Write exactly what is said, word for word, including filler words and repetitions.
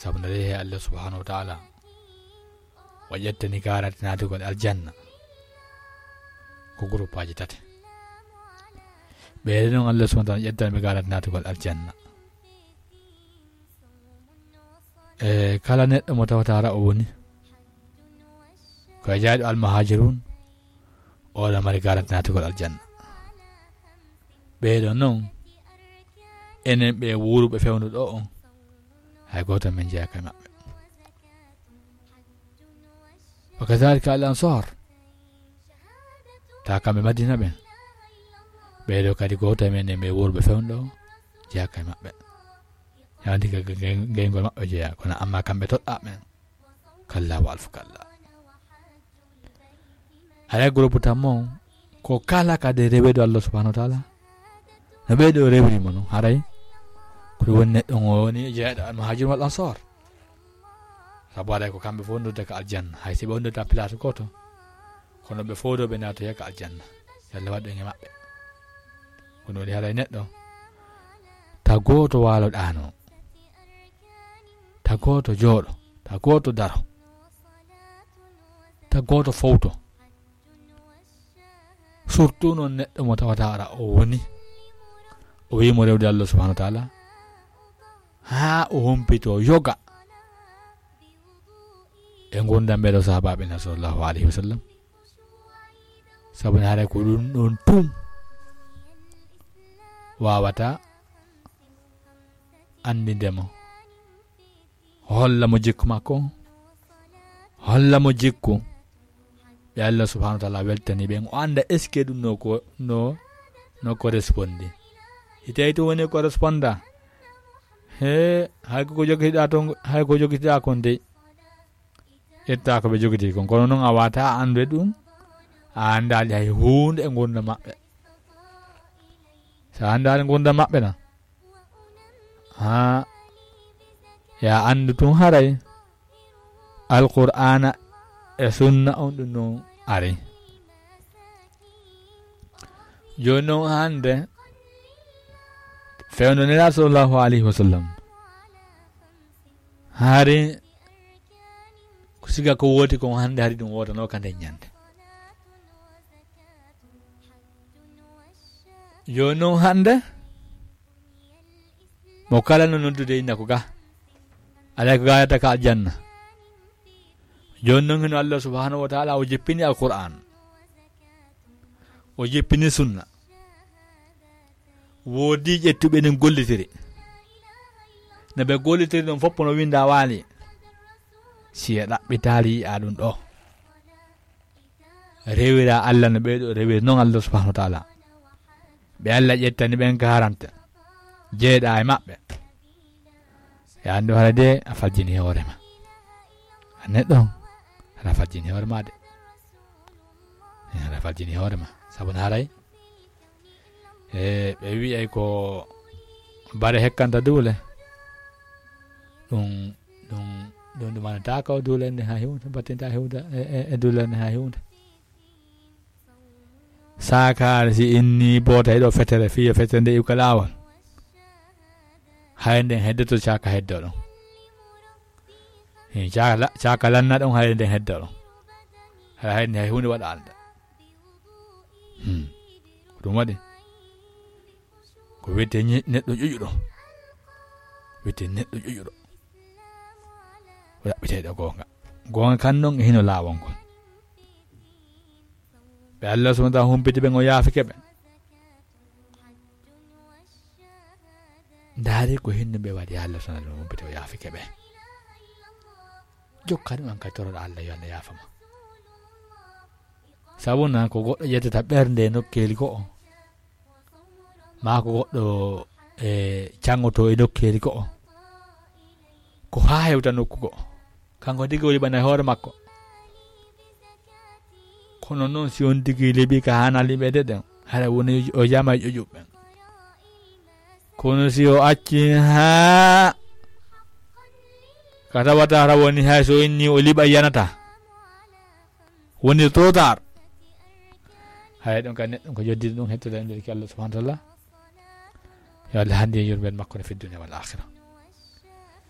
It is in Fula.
Sabu nde rewi he Allah subhanahu wa ta'ala, o ƴettani garanti naatugol aljanna ko groupaaji tati. Ɓeeɗo noon Allah subhanahu wa ta'ala ƴettani ɓe garanti naatugol aljanna. E kala neɗɗo mo tawata ara o woni ko e jeyaaɗo almuhajirun, oɗo mari garanti naatugol aljanna. Ɓeeɗo noon, enen ɓe wuuruɓe fewndo ɗo on, hay gooto men jeyaaka e maɓɓe. Wa kadhalika al ansar, ta kamɓe Madina ɓen, ɓeeɗo kadi gooto men e ɓe wuuruɓe fewndo jeyaaka e maɓɓe. Yandi ka ge-, ge-, geyngol maɓɓe jeyaa, kono amma kamɓe toɗɗaa ɓen. Kalla wa alfu kalla. Haray groupe tammo on, ko kala kadi reweeɗo Allah subhanahu wa ta'ala, no ɓeeɗo rewri mo non, haray ko ɗum woni neɗɗo on o woni jeyaaɗo al muhajir wal ansar. Sabu haray ko kamɓe fof nodda ka aljanna, hay si ɓe wonde ta place gooto, kono ɓe fof ɗo ɓe naatoya ka aljanna. Yo Allah waɗ ɓen e maɓɓe. Ko ɗum woni haray neɗɗo, ta gooto waalo ɗaano, ta gooto jooɗo, ta gooto daro, ta gooto fowto. Surtout noon neɗɗo mo tawata ara o woni, o wi'i mo rewde Allah subhanahu wa ta'ala, haa o humpito yoga e ngurdam ɓeeɗo sahabaaɓe na sallallahu alayhi wa sallam. Sabu ne haray ko ɗum ɗon tum wawata anndinde mo, holla mo jikku makko, holla mo jikku ɓe Allah subhanahu wa ta'ala weltani ɓen, o annda est-ce que ɗum no ko, no, no correspondi. Si tawi to woni corresponda, he, hay ko ko jogitiɗa ton, hay ko jogitiɗa kon dey, ƴetta ko ɓe jogiti kon. Kono noon a wata a anndu e ɗum, a anndaali hay huunde e ngurnda maɓɓe. So a anndaali ngurnda maɓɓe na, haa, ya anndu tun haray Alqur'aana e sunna on ɗum non ari. Jooni noon hannde, fewndo Nelaaɗo sallallahu alayhi wa sallam, hari ko siga ko wooti kon hannde, hari ɗum wootanoo ka nden ñannde. Jooni noon hannde, mo kala no noddude inna ko ga, alay ko ga yata ka aljanna. Jooni noon hino Allah subhanahu wa ta'ala o jippini Alqur'aan, o jippini sunna. Woodi ƴettuɓe ɗum gollitiri. No ɓe gollitiri ɗum fof no winda waali. Si a ɗaɓɓitaali yi'a ɗum ɗo. Rewira Allah no ɓeeɗo rewiri noon Allah subhanahu wa ta'ala. Ɓe Allah ƴettani ɓen garante. Jeeɗa e maɓɓe. Ya anndu hara de a fajjini hoore ma. A neɗɗo on, hara fajjini hoore ma de. Eh, hara fajjini hoore ma. Sabu no haray, e, ɓe wi'ay ko bare hekkanta duule. Ɗum, ɗum, ɗum, ɗum anata ko duule nde ha hiwta, battinta hiwta, e, e, e duule nde ha hiwta. Saakaare si inni boota e ɗo fetere, fiya fetere nde iwka laawol. Hay nden heddoto caaka heddo ɗon. He, caaka la-, caaka lanna ɗon hay nden heddo ɗon. Hay, hay, hay huunde waɗa alda. Hmm. Ko ɗum waɗi. Ko wiyetee ñe-, neɗɗo ƴuƴuɗo. Wiyetee neɗɗo ƴuƴuɗo. O ɗaɓɓitee ɗo goonga. Goonga kan non e hino laawol ngol. Ɓe Allah subhanahu wa ta'ala humpiti ɓen, o yaafike ɓe. Ndaari ko hinno ɓe waɗi, Allah subhanahu wa ta'ala humpiti, o yaafike ɓe. Jokkani on kadi toroɗa Allah yo Allah yaafa ma. Sabu nan ko goɗɗo ƴettata ɓernde e nokkeeli go'o. Maa ko goɗɗo, e, caŋoto e nokkeeli go'o. Ko haa hewta nokku go'o. Kanko tigi o liɓana e hoore makko. Kono noon, si on tigi liɓi ka haana liɓeede ɗen, hara woni o jama e ƴoƴuɓe ɓen. Kono si o acci haa ka tawata hara woni hay so inni o liɓa yanata. Woni trop tard. Hay ɗum ka neɗɗo ko joddi ɗum hettude e nder ki Allah subhanahu wa ta'ala. Yo Allah handi e yurmen makko no fi dunya wal akhirah.